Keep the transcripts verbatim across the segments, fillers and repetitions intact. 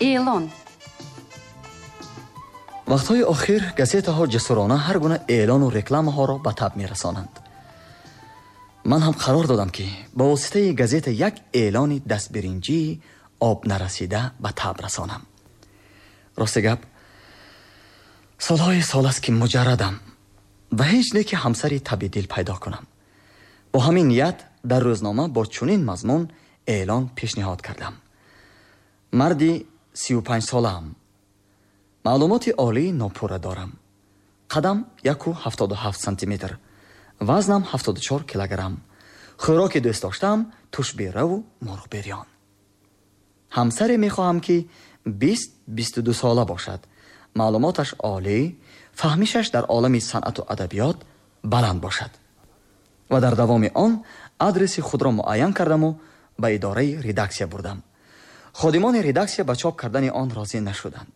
Эълон. Вақтҳои охир газетаҳо ҷасурона ҳар гуна эълону рекламаҳоро ба таб мерасонанд. Ман ҳам қарор додам, ки ба воситаи газета як эълони дастбиринҷии об нарасида ба таб расонам. Рости гап, солҳои сол аст, ки муҷаррадам ва ҳеҷ не ки ҳамсари таби дил пайдо кунам. Бо ҳамин ният дар рӯзнома бо чунин мазмун эълон пешниҳод кардам. Марди сию панҷ солаам. Маълумоти олии нопурра дорам. Қадам яку ҳафтоду ҳафт сантиметр, вазнам ҳафтоду чор килограмм. Хӯроки дӯст доштаам тушбераву мурғбирён. Ҳамсаре мехоҳам, ки бист бисту ду сола бошад. Маълумоташ олӣ, фаҳмишаш дар олами санъату адабиёт баланд бошад. Ва дар давоми он адреси худро муайян кардаму ба идораи редаксия бурдам. Ходимони редаксия ба чоп кардани он розӣ нашуданд.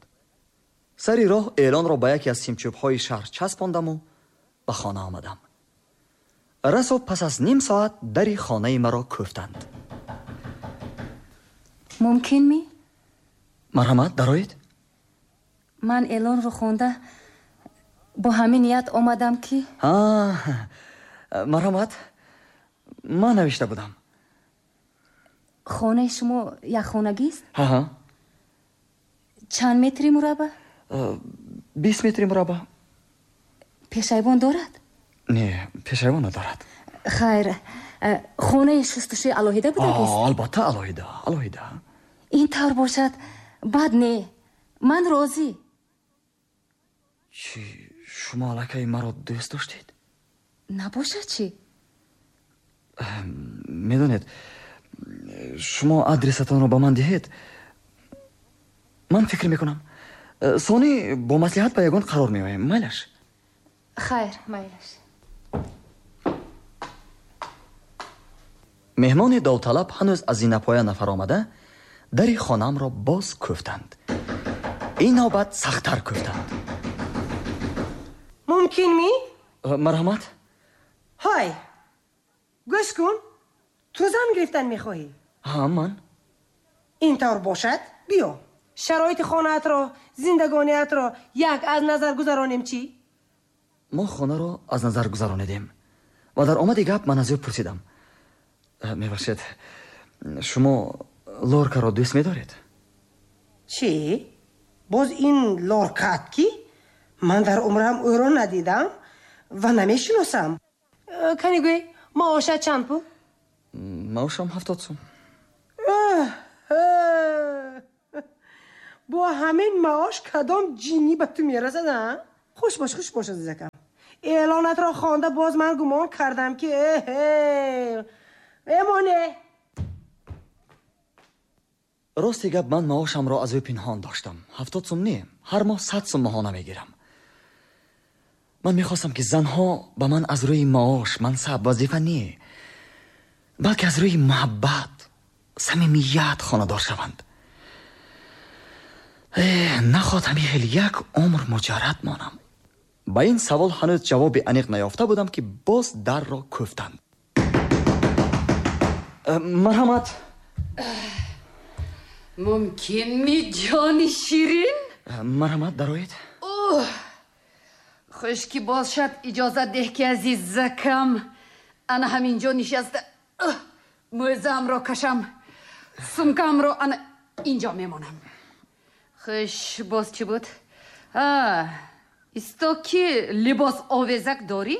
Сари роҳ эълонро ба яке аз симчӯбҳои шаҳр часпондаму ба хона омадам. Расо пас аз ним соат дари хонаи маро кӯфтанд. Мумкин ми? Марҳамат, дароед. Ман эълонро хонда бо ҳамин ният омадам, ки марҳамат, ман навишта будам. Хонаи шумо якхонагист? Ҳа. Чанд метри мураббаъ? Бист метри мураббаъ. Пешайвон дорад? Не, пешайвон надорад. Хайр, хонаи шустушӯи алоҳида будагист? Албатта, алоҳида, алоҳида. Ин тавр бошад, бад не, ман розӣ. Чӣ, шумо аллакай маро дӯст доштед? Набошад чӣ? Медонед, шумо адресатонро ба ман диҳед, ман фикр мекунам. Сони бо маслиҳат ба ягон қарор меоем. Майлаш? Хайр, майлаш. Меҳмони довталаб ҳанӯз аз зинапоя нафаромада дари хонаамро боз кӯфтанд. Ин навбат сахттар кӯфтанд. Мумкин ми? Марҳамат. Ҳай, гӯш кун, ту зан гирифтан мехоҳӣ? Ҳа, ман. Ин тавр бошад, биё шароити хонаатро, зиндагониатро як аз назар гузаронем, чӣ? Мо хонаро аз назар гузаронидем ва дар омади гап ман аз ӯ пурсидам: мебахшед, шумо Лоркаро дӯст медоред? Чӣ? Боз ин Лоркаат ки? Ман дар умрам ӯро надидам ва намешиносам. Кани гӯй, маошат чанд пул? Маошам ҳафтод сум. Бо ҳамин маош кадом ҷиннӣ ба ту мерасад, а? Хуш бош, хуш бош, азизакам. Эълонатро хонда боз ман гумон кардам, ки эмоне. Рости гап, ман маошамро аз ӯ пинҳон доштам. Ҳафтод сум не, ҳар моҳ сад сум моҳона мегирам. Ман мехостам, ки занҳо ба ман аз рӯи маош, мансаб, вазифа не, балки аз рӯи муҳаббат, самимият хонадор шаванд. Нахоҳад ҳамин хел як умр муҷаррад монам. Ба ин савол ҳанӯз ҷавоби аниқ наёфта будам, ки боз дарро кӯфтанд. Марҳамат. Мумкин ми, ҷони ширин? Марҳамат, дароед. Хуш ки бошад, иҷозат деҳ, ки азизакам ана ҳамин ҷо нишаста мӯзаамро кашам, сумкамро ана инҷо мемонам. Хуш, боз чӣ буд? Исто ки либос овезак дорӣ?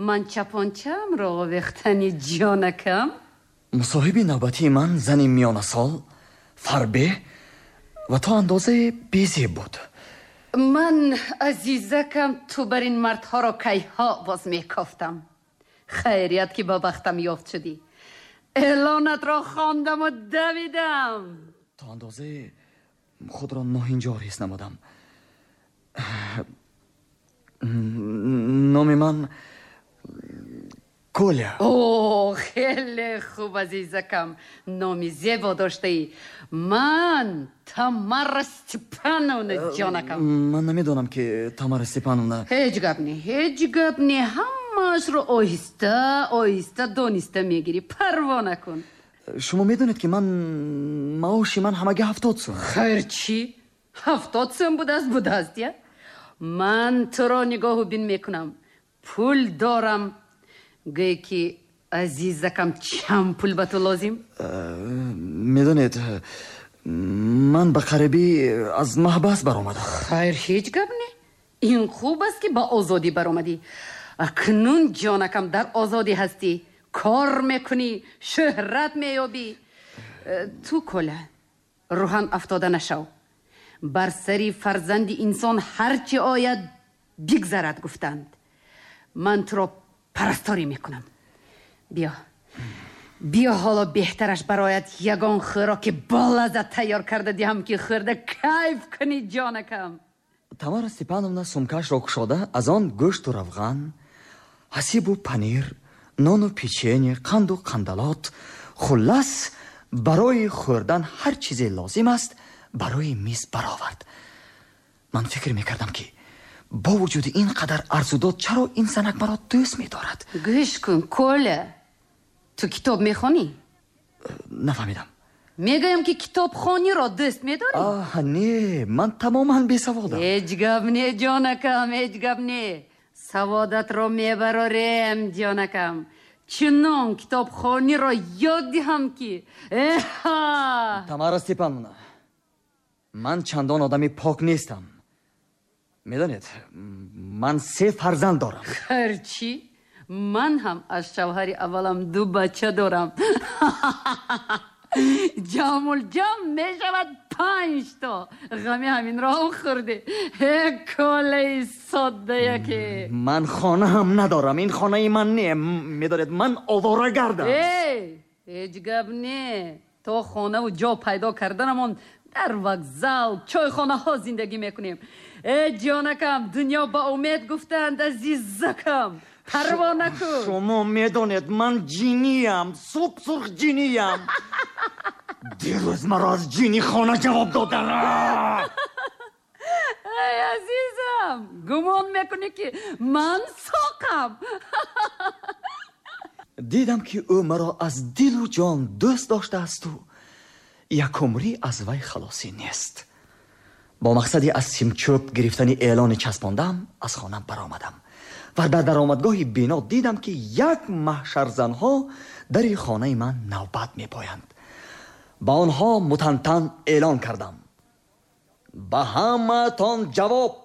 Ман чапончаамро овехтани, ҷонакам. Мусоҳиби навбатии ман зани миёнасол, фарбеҳ ва то андозае безеб буд. Ман, азизакам, ту бар ин мардҳоро кайҳо боз мекофтам. Хайрият, ки ба бахтам ёфт шудӣ. Эълонатро хондаму давидам. То андозае худро ноҳинҷор ҳис намудам. Номи ман Коля. О, хеле хуб, азизакам, номи зебо доштаӣ. Ман Тамара Степановна, ҷонакам. Ман намедонам, ки Тамара Степановна. Ҳеҷ гап не, ҳеҷ гап не, ҳамаашро оҳиста оҳиста дониста мегирӣ, парво накун. Шумо медонед ки ман маоши ман ҳамагӣ ҳафтод сум. Хайр чӣ? Ҳафтод сум будааст, будааст, я? Ман туро нигоҳу бин мекунам. Пул дорам. Гӯй ки азизакам, чанд пул ба ту лозим? Медонед, ман ба қарибӣ аз маҳбас баромадам. Хайр, ҳеҷ гап не. Ин хуб аст ки ба озодӣ баромадӣ. Акнун ҷонакам дар озодӣ ҳастӣ. Кор мекунӣ, шӯҳрат меёбӣ. Ту Коля, рӯҳан афтода нашав. Бар сари фарзанди инсон ҳарчи ояд бигзарад, гуфтанд. Ман туро парасторӣ мекунам. Биё, биё, ҳоло беҳтараш барояд ягон хӯроки болаззат тайёр карда диҳам ки хӯрда кайф кунӣ, ҷонакам. Тамара Степановна сумкашро кушода аз он гӯшту равған, ҳасибу панир, нону печенье, қанду қандалот, хуллас барои хӯрдан ҳар чизе лозим аст, барои миз баровард. Ман фикр мекардам ки бо вуҷуди ин қадар арзудод чаро ин занак маро дӯст медорад. Гӯш кун, Коля, ту китоб мехонӣ? Нафаҳмидам. Мегӯям ки китобхониро дӯст медорӣ? Аҳ, не, ман тамоман бесаводам. Ҳеҷ гап не, ҷонакам, ҳеҷ гап не. Саводатро мебарорем, ҷонакам. Чунон китобхониро ёд диҳам ки эҳа. Тамара Степановна, ман чандон одами пок нестам. Медонед, ман се фарзанд дорам. Хайр чӣ? Ман ҳам аз шавҳари аввалам ду бача дорам. Ҷамъулҷамъ мешавад панҷ то. Ғами ҳаминро ҳам хӯрдӣ. Э, Колаи соддаяке. Ман хона ҳам надорам. Ин хонаи ман не. Медонед, ман овора гардам. Э, ҳеҷ гап не. То хонаву ҷо пайдо карданамон дар вокзал, чойхонаҳо зиндагӣ мекунем. Э, ҷонакам, дунё ба умед гуфтанд, азизакам. Парво накун. Шумо медонед, ман ҷиниям, сурх ҷиниям. Дирӯз маро аз ҷинихона ҷавоб доданд. Эй, азизам, гумон мекунӣ ки ман соқам? Дидам ки ӯ маро аз дилу ҷон дӯст доштаасту якумрӣ аз вай халосӣ нест. Бо мақсади аз симчӯб гирифтани эълони часпондам аз хона баромадам ва дар даромадгоҳи бино дидам ки як маҳшарзанҳо дари хонаи ман навбат мепоянд. Ба онҳо мутантан эълон кардам: ба ҳамаатон ҷавоб,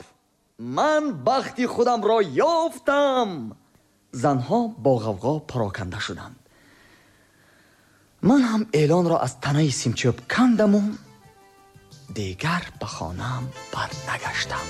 ман бахти худамро ёфтам. Занҳо бо ғавғо пароканда шуданд. Ман ҳам эълонро аз танаи симчӯб кандаму дигар ба хонаам барнагаштам.